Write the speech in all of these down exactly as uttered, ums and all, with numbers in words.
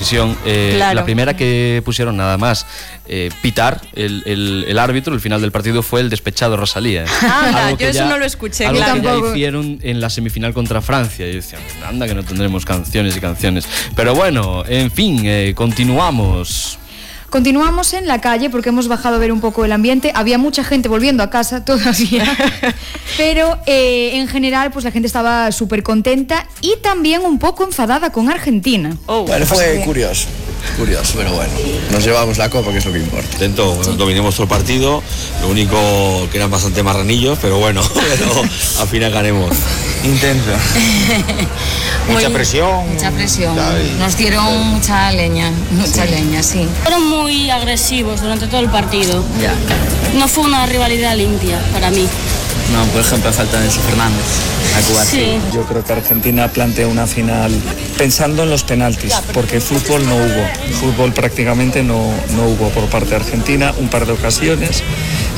televisión. Eh, claro. La primera que pusieron nada más eh, pitar el, el, el árbitro, el final del partido fue el despechado Rosalía. Anda, yo eso ya, no lo escuché, algo claro. que ya hicieron en la semifinal contra Francia. Y decían, anda que no tendremos canciones y canciones. Pero bueno, en fin, eh, continuamos. Continuamos en la calle porque hemos bajado a ver un poco el ambiente. Había mucha gente volviendo a casa todavía, pero eh, en general pues la gente estaba súper contenta y también un poco enfadada con Argentina. Oh, bueno, fue curioso, curioso, pero bueno, nos llevamos la copa, que es lo que importa. Intento, bueno, dominemos todo el partido, lo único que eran bastante marranillos, pero bueno, pero al final ganemos. Intento. Mucha presión. Mucha presión. Nos dieron mucha leña, mucha sí. leña, sí. Fueron muy agresivos durante todo el partido. Ya. No fue una rivalidad limpia para mí. No, por ejemplo, falta Enzo Fernández a Cuba. Sí. Yo creo que Argentina planteó una final pensando en los penaltis, porque fútbol no hubo. Fútbol prácticamente no, no hubo por parte de Argentina, un par de ocasiones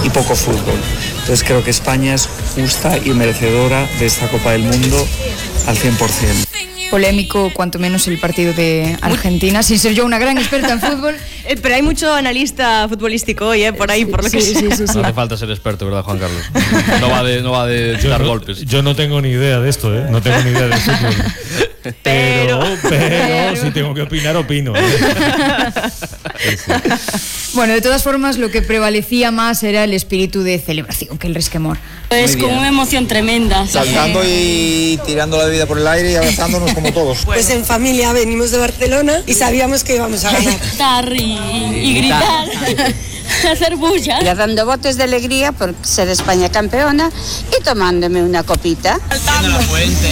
y poco fútbol. Entonces creo que España es justa y merecedora de esta Copa del Mundo al cien por ciento. Polémico, cuanto menos, el partido de Argentina, sin ser yo una gran experta en fútbol. Eh, pero hay mucho analista futbolístico hoy, ¿eh? Por ahí, por lo sí, que sí, sea. sí, sí. No hace falta ser experto, ¿verdad, Juan Carlos? No va de, no va de dar no, golpes. Yo no tengo ni idea de esto, ¿eh? No tengo ni idea de fútbol. Pero, pero, pero, si tengo que opinar, opino. ¿eh? Sí, sí. Bueno, de todas formas, lo que prevalecía más era el espíritu de celebración que el resquemor. Es con una emoción tremenda. Saltando y tirando la bebida por el aire y abrazándonos como todos. Pues en familia venimos de Barcelona y sabíamos que íbamos a ganar. Gritar y, y gritar, hacer bulla. Ya dando botes de alegría por ser España campeona y tomándome una copita. Saltando la fuente.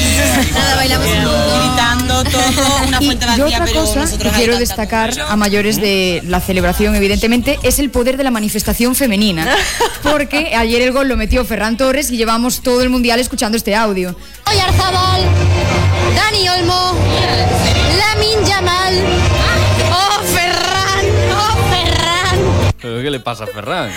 Nada, bailamos gritando todo, una fuente vacía, y yo otra cosa que quiero destacar a mayores de la celebración, evidentemente, es el poder de la manifestación femenina. Porque ayer el gol lo metió Ferran Torres y llevamos todo el mundial escuchando este audio. Oyarzabal, Dani Olmo, Lamine Yamal. ¡Oh, Ferran! ¡Oh, Ferran! ¿Pero qué le pasa a Ferran?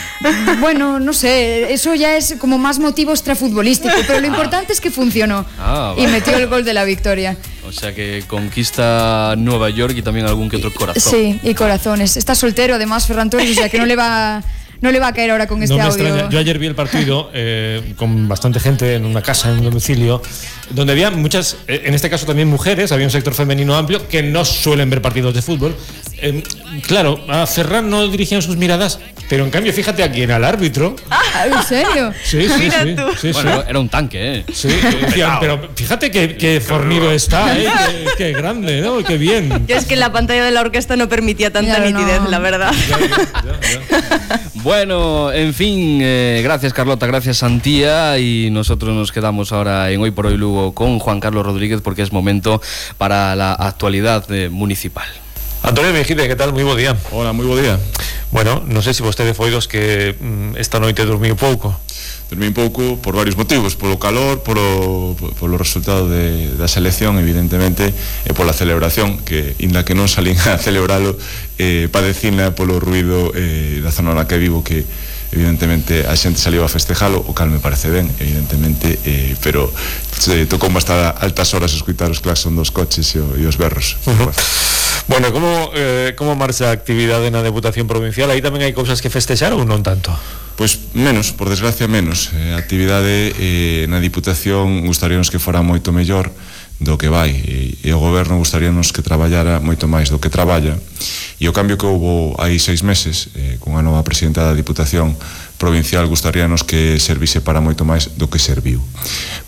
Bueno, no sé, eso ya es como más motivo extrafutbolístico, pero lo importante es que funcionó ah, y metió el gol de la victoria. O sea que conquista Nueva York y también algún que otro corazón. Sí, y corazones. Está soltero además Ferran Torres, o sea que no le va... No le va a caer ahora con este no me audio. Extraña. Yo ayer vi el partido eh, con bastante gente en una casa, en un domicilio, donde había muchas, en este caso también mujeres, había un sector femenino amplio que no suelen ver partidos de fútbol. Eh, claro, a Ferran no dirigían sus miradas, pero en cambio, fíjate a quién, al árbitro. Ah, ¿en serio? Sí, sí, Mira sí, tú. sí, Bueno, sí. era un tanque, ¿eh? Sí, decían, pero fíjate qué, qué fornido está, ¿eh? Qué, qué grande, ¿no? Qué bien. Yo es que la pantalla de la orquesta no permitía tanta Claro, nitidez, no. la verdad. Ya, ya, ya. Bueno, en fin, eh, gracias Carlota, gracias Santía, y nosotros nos quedamos ahora en Hoy por Hoy Lugo con Juan Carlos Rodríguez porque es momento para la actualidad eh, municipal. Antonio Mejide, ¿qué tal? Muy bo día. Hola, moi bo día. Bueno, non sei se vostede foi dos que mm, esta noite dormiu pouco. Dormí un pouco por varios motivos, polo calor, polo, polo resultado de, da selección, evidentemente, e pola celebración, que, inda que non salín a celebralo, eh, padecina polo ruido eh, da zona na que vivo, que evidentemente a xente saliu a festejalo, o cal me parece ben, evidentemente, eh, pero se tocou hasta altas horas escutar os claxon dos coches e, o, e os berros. Uh-huh. Bueno, como, eh, como marcha a actividade na Deputación Provincial? Aí tamén hai cousas que festexar ou non tanto? Pois menos, por desgracia menos. eh, A actividade eh, na Diputación gustaríanos que fora moito mellor do que vai, e, e o goberno gustaríanos que traballara moito máis do que traballa, e o cambio que houbo hai seis meses eh, cunha nova presidenta da Diputación Provincial gustaríanos que servise para moito máis do que serviu,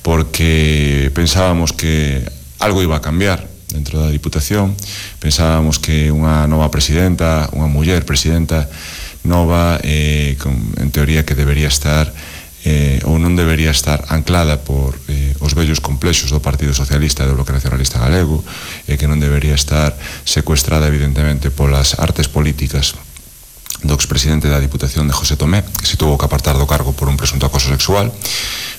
porque pensábamos que algo iba a cambiar dentro da Diputación, pensábamos que unha nova presidenta, unha muller presidenta nova, eh, con, en teoría que debería estar eh, ou non debería estar anclada por eh, os vellos complexos do Partido Socialista e do Bloque Nacionalista Galego, e eh, que non debería estar secuestrada evidentemente polas artes políticas do expresidente da Diputación de José Tomé, que se tuvo que apartar do cargo por un presunto acoso sexual.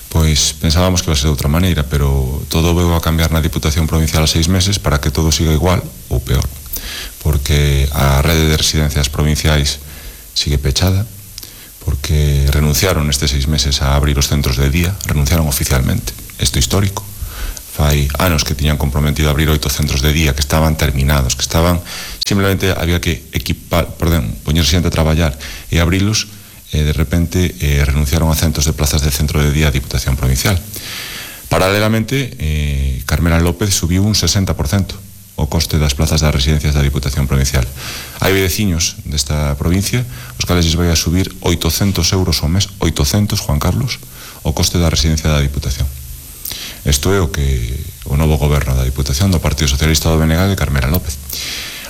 Pois pensábamos que iba a ser de outra maneira, pero todo veu a cambiar na Diputación Provincial a seis meses para que todo siga igual ou peor, porque a rede de residencias provinciais sigue pechada, porque renunciaron estes seis meses a abrir os centros de día, renunciaron oficialmente, isto histórico. Fai anos que tiñan comprometido a abrir oito centros de día que estaban terminados, que estaban simplemente había que equipar, perdón, poñer xente a traballar e abrilos, e de repente eh, renunciaron a centos de plazas de centro de día a Diputación Provincial. Paralelamente, eh, Carmela López subiu un sesenta por cento o coste das plazas das residencias da Diputación Provincial. Hai veciños desta provincia os cales lles vai a subir oitocentos euros ao mes, oitocentos, Juan Carlos, o coste da residencia da Diputación. Isto é o que o novo goberno da Diputación do Partido Socialista do B N G de Carmela López.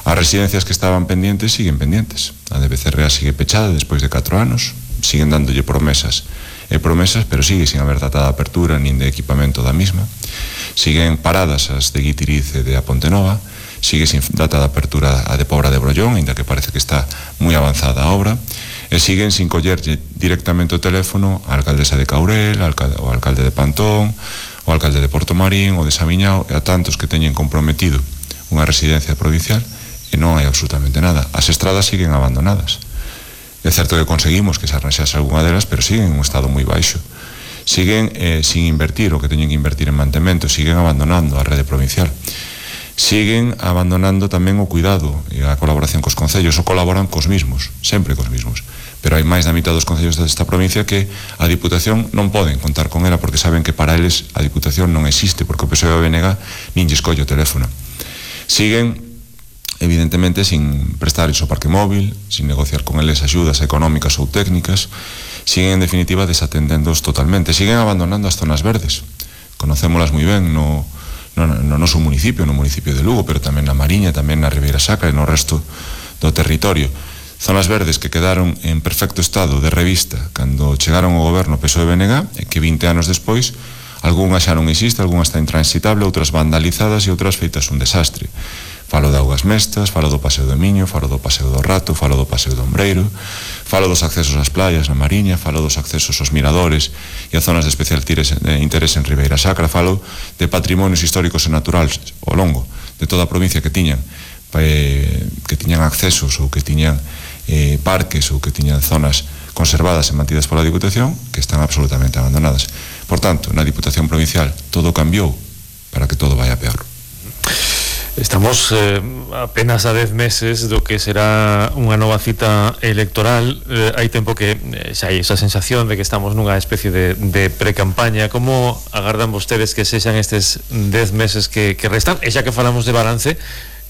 As residencias que estaban pendientes siguen pendientes. A de Becerrea sigue pechada despois de catro anos, siguen dándolle promesas e promesas, pero sigue sin haber data de apertura nin de equipamento da misma. Siguen paradas as de Guitiriz e de A Pontenova, sigue sin data de apertura a de Pobra de Brollón, ainda que parece que está moi avanzada a obra, e siguen sin collerlle directamente o teléfono a alcaldesa de Caurel, o alcalde de Pantón, o alcalde de Portomarín, o de Samiñao, e a tantos que teñen comprometido unha residencia provincial, e non hai absolutamente nada. As estradas siguen abandonadas. É certo que conseguimos que se arranxase algunha delas, pero siguen en un estado moi baixo. Siguen eh, sin invertir o que teñen que invertir en mantemento, siguen abandonando a rede provincial. Siguen abandonando tamén o cuidado e a colaboración cos concellos, ou colaboran cos mismos, sempre cos mismos. Pero hai máis da mitad dos concellos desta provincia que a Diputación non poden contar con ela porque saben que para eles a Diputación non existe, porque o P S O e o B N G nin lle escolle o teléfono. Siguen evidentemente sin prestar iso parque móvil, sin negociar con eles axudas económicas ou técnicas, siguen en definitiva desatendéndoos totalmente, siguen abandonando as zonas verdes. Conocémolas moi ben no, no, no noso municipio, no municipio de Lugo, pero tamén na Mariña, tamén na Ribeira Sacra e no resto do territorio. Zonas verdes que quedaron en perfecto estado de revista cando chegaron ao goberno P S O e B N G, e que vinte anos despois algunhas xa non existe, algunhas está intransitable, outras vandalizadas e outras feitas un desastre. Falo de Augas Mestas, falo do Paseo do Miño, falo do Paseo do Rato, falo do Paseo do Ombreiro, falo dos accesos ás playas na Mariña, falo dos accesos aos miradores e a zonas de especial interés en Ribeira Sacra, falo de patrimonios históricos e naturales ao longo de toda a provincia que tiñan eh, que tiñan accesos ou que tiñan eh, parques ou que tiñan zonas conservadas e mantidas pola Diputación que están absolutamente abandonadas. Por tanto, na Diputación Provincial todo cambiou para que todo vaya peor. Estamos eh, apenas a dez meses do que será unha nova cita electoral. Eh, hai tempo que eh, xa hai esa sensación de que estamos nunha especie de, de pre-campaña. Como agardan vostedes que sexan estes dez meses que, que restan? E xa que falamos de balance,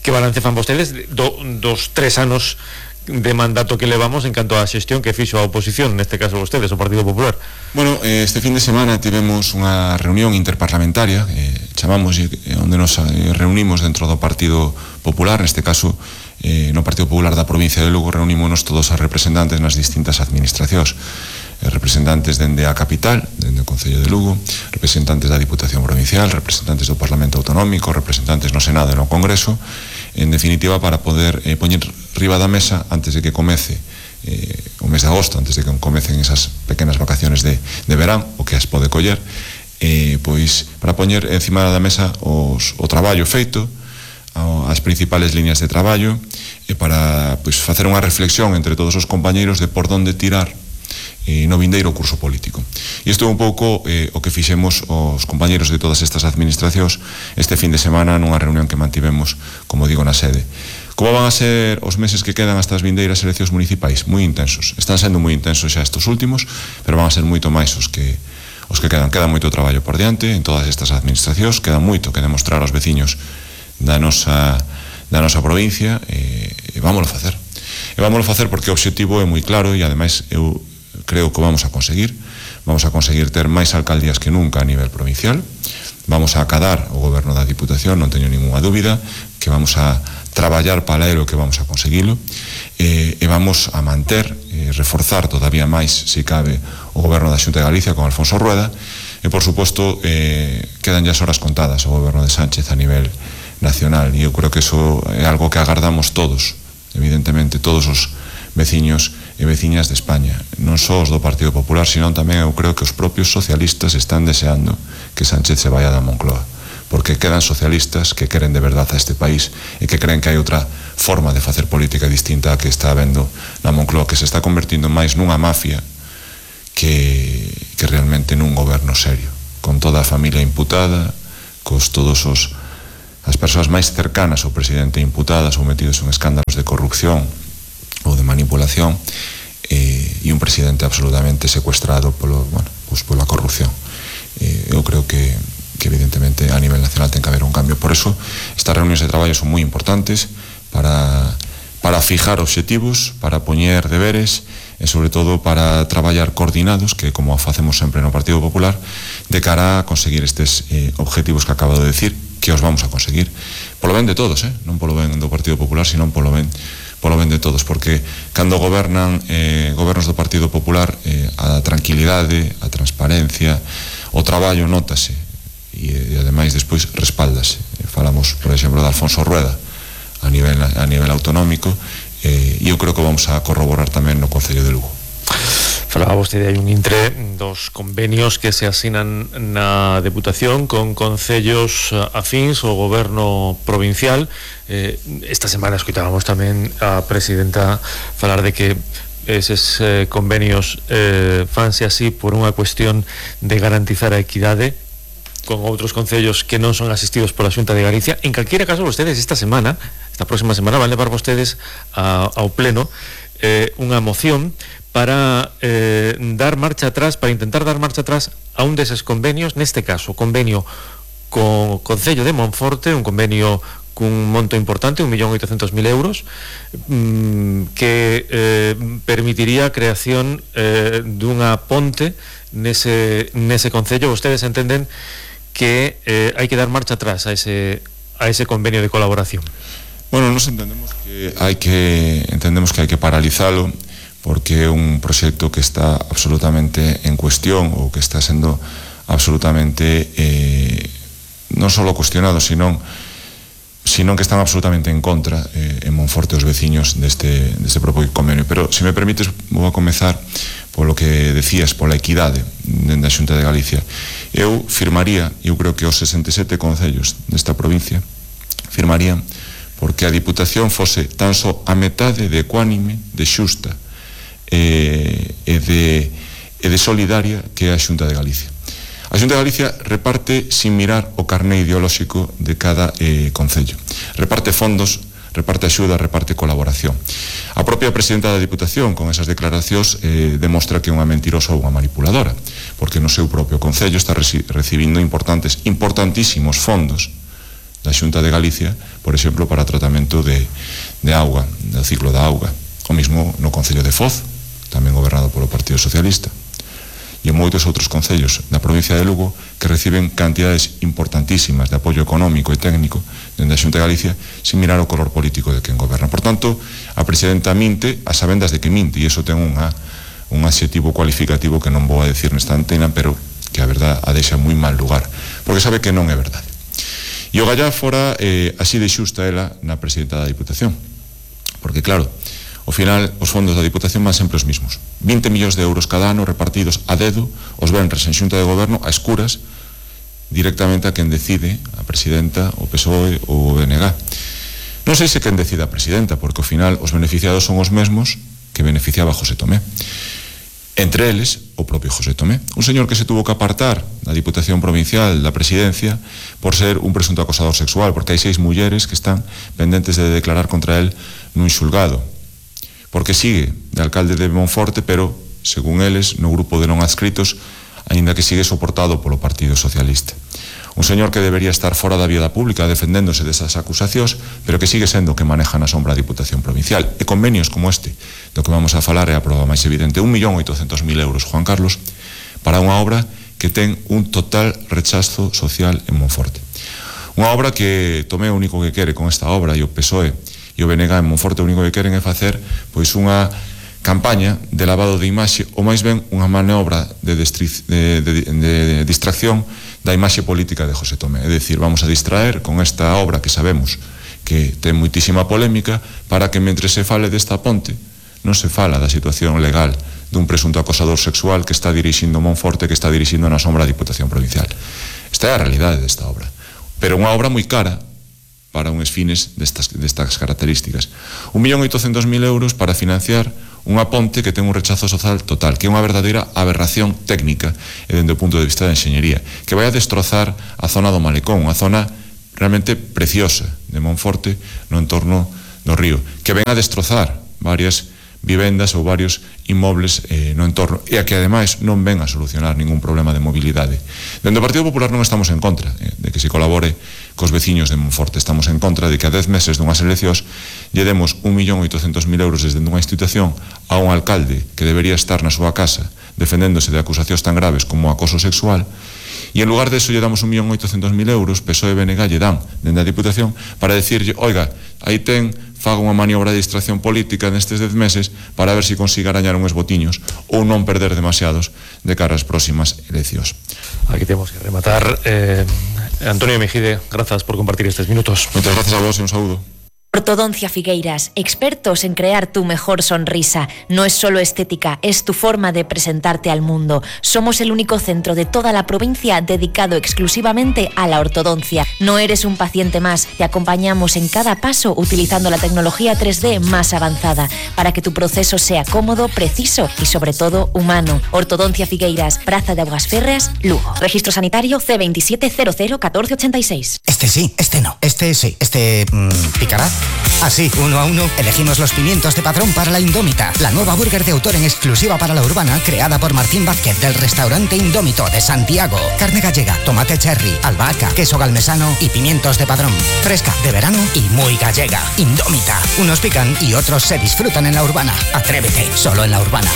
que balance fan vostedes do, dos tres anos de mandato que levamos en canto á xestión que fixo a oposición, neste caso vostedes, o Partido Popular? Bueno, este fin de semana tivemos unha reunión interparlamentaria, eh, chamamos eh, onde nos eh, reunimos dentro do Partido Popular, neste caso eh, no Partido Popular da provincia de Lugo reunímonos todos os representantes nas distintas administracións, eh, representantes dende a capital, dende o Concello de Lugo, representantes da Diputación Provincial, representantes do Parlamento Autonómico, representantes no Senado e no Congreso, en definitiva para poder eh, poñer riba da mesa antes de que comece eh, o mes de agosto, antes de que comecen esas pequenas vacaciones de, de verán, o que as pode coller, eh, pois para poñer encima da mesa os, o traballo feito, as principales líneas de traballo, e para pois, facer unha reflexión entre todos os compañeiros de por donde tirar eh, no vindeiro curso político. E isto é un pouco eh, o que fixemos os compañeiros de todas estas administracións este fin de semana nunha reunión que mantivemos, como digo, na sede. Como van a ser os meses que quedan hasta as vindeiras eleccións municipais? Moi intensos. Están sendo moi intensos xa estes últimos, pero van a ser moito máis os que os que quedan. Queda moito traballo por diante en todas estas administracións, queda moito que demostrar aos veciños da nosa da nosa provincia e, e vámoslo facer. E vámoslo facer porque o obxectivo é moi claro e ademais eu creo que vamos a conseguir. Vamos a conseguir ter máis alcaldías que nunca a nivel provincial. Vamos a acadar o goberno da Diputación, non teño ninguna dúbida, que vamos a traballar para elo que vamos a conseguilo e, e vamos a manter e reforzar todavía máis, se cabe, o goberno da Xunta de Galicia con Alfonso Rueda e, por suposto, eh, quedan ya as horas contadas o goberno de Sánchez a nivel nacional e eu creo que eso é algo que agardamos todos, evidentemente, todos os veciños e veciñas de España, non só os do Partido Popular, sino tamén eu creo que os propios socialistas están deseando que Sánchez se vaya da Moncloa, porque quedan socialistas que queren de verdad a este país e que creen que hai outra forma de facer política distinta a que está habendo na Moncloa, que se está convertindo máis nunha mafia que, que realmente nun goberno serio, con toda a familia imputada, cos todos os as persoas máis cercanas ao presidente imputadas ou metidos en escándalos de corrupción ou de manipulación, eh, e un presidente absolutamente secuestrado polo, bueno, pues pola corrupción. Eh, eu creo que, que evidentemente a nivel nacional ten que haber un cambio. Por eso estas reunións de traballo son moi importantes para, para fijar obxectivos, para poñer deberes e sobre todo para traballar coordinados, que como facemos sempre no Partido Popular, de cara a conseguir estes eh, objetivos que acabo de decir, que os vamos a conseguir polo ben de todos, eh? non polo ben do Partido Popular, sino polo ben polo ben de todos, porque cando gobernan eh, gobernos do Partido Popular, eh, a tranquilidade, a transparencia, o traballo nótase e, e ademais despois respáldase. Eh, falamos, por exemplo, de Alfonso Rueda a nivel, a nivel autonómico, e eh, eu creo que vamos a corroborar tamén no Concello de Lugo. Falaba vostede, hai un intre dos convenios que se asinan na Deputación con concellos afíns ao goberno provincial. Eh, esta semana escutábamos tamén a presidenta falar de que eses eh, convenios eh, fanse así por unha cuestión de garantizar a equidade con outros concellos que non son asistidos pola Xunta de Galicia. En calquera caso, vostedes esta semana, esta próxima semana, van levar vostedes a, ao pleno eh, unha moción para eh, dar marcha atrás, para intentar dar marcha atrás a un deses convenios, neste caso, convenio co Concello de Monforte, un convenio cun monto importante, un millón oitocentos mil euros, mmm, que eh, permitiría a creación eh, dunha ponte nese, nese concello. Vostedes entenden que eh, hai que dar marcha atrás a ese, a ese convenio de colaboración. Bueno, nos entendemos que hai que entendemos que hai que paralizalo, porque é un proxecto que está absolutamente en cuestión, ou que está sendo absolutamente eh, non só cuestionado, sino, sino que están absolutamente en contra eh, en Monforte os veciños deste, deste propio convenio. Pero, se me permites, vou a comezar polo que decías, pola equidade dentro da Xunta de Galicia. Eu firmaría, eu creo que os sesenta e sete concellos desta provincia firmarían porque a Diputación fose tan só a metade de ecuánime, de xusta e de, e de solidaria que é a Xunta de Galicia. A Xunta de Galicia reparte sin mirar o carné ideolóxico de cada eh, concello. Reparte fondos, reparte axuda, reparte colaboración. A propia presidenta da Diputación, con esas declaracións, eh, demostra que é unha mentirosa ou unha manipuladora, porque no seu propio concello está recibindo importantes, importantísimos fondos da Xunta de Galicia, por exemplo, para tratamento de, de auga, do ciclo da auga. O mismo no Concello de Foz, tamén gobernado polo Partido Socialista, e en moitos outros concellos da provincia de Lugo que reciben cantidades importantísimas de apoio económico e técnico dende a Xunta de Galicia sin mirar o color político de quen goberna. Por tanto, a presidenta minte a sabendas de que minte, e iso ten unha, un adxetivo cualificativo que non vou a decir nesta antena, pero que a verdade a deixa moi mal lugar, porque sabe que non é verdade. E o gallá fora eh, así de xusta ela na presidenta da Diputación, porque claro, ao final, os fondos da Diputación van sempre os mismos. vinte millóns de euros cada ano repartidos a dedo, os venres en Xunta de Goberno, a escuras, directamente a quen decide, a presidenta, o P S O E ou o B N G. Non sei se quen decide a presidenta, porque ao final os beneficiados son os mesmos que beneficiaba José Tomé. Entre eles, o propio José Tomé. Un señor que se tuvo que apartar da Diputación Provincial, da Presidencia, por ser un presunto acosador sexual, porque hai seis mulleres que están pendentes de declarar contra él nun xulgado. Porque sigue de alcalde de Monforte, pero, según eles, no grupo de non adscritos, aínda que sigue soportado polo Partido Socialista. Un señor que debería estar fora da vida pública defendéndose desas acusacións, pero que sigue sendo que maneja na sombra a Diputación Provincial. E convenios como este, do que vamos a falar é a prova máis evidente. un millón oitocentos mil euros, Juan Carlos, para unha obra que ten un total rechazo social en Monforte. Unha obra que Tomé o único que quere con esta obra, e o P S O E e o B N G en Monforte o único que queren é facer pois unha campaña de lavado de imaxe, ou máis ben unha maniobra de, de, de, de distracción da imaxe política de José Tomé. É dicir, vamos a distraer con esta obra que sabemos que ten moitísima polémica, para que mentre se fale desta ponte non se fala da situación legal dun presunto acosador sexual que está dirixindo Monforte, que está dirixindo na sombra a Diputación Provincial. Esta é a realidade desta obra, pero unha obra moi cara para uns fines destas, destas características. un millón oitocentos mil euros para financiar unha ponte que ten un rechazo social total, que é unha verdadeira aberración técnica e dende o punto de vista da enxeñería, que vai a destrozar a zona do Malecón, unha zona realmente preciosa de Monforte no entorno do río, que ven a destrozar varias vivendas ou varios inmobles eh, no entorno e a que ademais non ven a solucionar ningún problema de mobilidade. Dende o Partido Popular non estamos en contra eh, de que se colabore cos veciños de Monforte, estamos en contra de que a dez meses dunhas eleccións lle demos un millón oitocentos mil euros desde unha institución a un alcalde que debería estar na súa casa defendéndose de acusacións tan graves como o acoso sexual, e en lugar de eso lle damos un millón oitocentos mil euros, P S O E e B N G lle dan dende a Diputación para decirlle, oiga, aí ten, faga unha maniobra de distracción política nestes dez meses para ver se consiga arañar uns botiños ou non perder demasiados de cara ás próximas eleccións. Aquí temos que rematar. eh, Antonio Mejide, grazas por compartir estes minutos. Moitas grazas a vos e un saúdo. Ortodoncia Figueiras, expertos en crear tu mejor sonrisa. No es solo estética, es tu forma de presentarte al mundo. Somos el único centro de toda la provincia dedicado exclusivamente a la ortodoncia. No eres un paciente más, te acompañamos en cada paso utilizando la tecnología tres D más avanzada para que tu proceso sea cómodo, preciso y sobre todo humano. Ortodoncia Figueiras, Praza de Aguas Férreas, Lugo. Registro sanitario C veintisiete cero cero catorce ochenta y seis. Este sí, este no. Este sí, este mmm, picará. Así, uno a uno, elegimos los pimientos de Padrón para la Indómita, la nueva burger de autor en exclusiva para la urbana, creada por Martín Vázquez del restaurante Indómito de Santiago. Carne gallega, tomate cherry, albahaca, queso galmesano y pimientos de Padrón. Fresca, de verano y muy gallega. Indómita. Unos pican y otros se disfrutan en la urbana. Atrévete, solo en la urbana.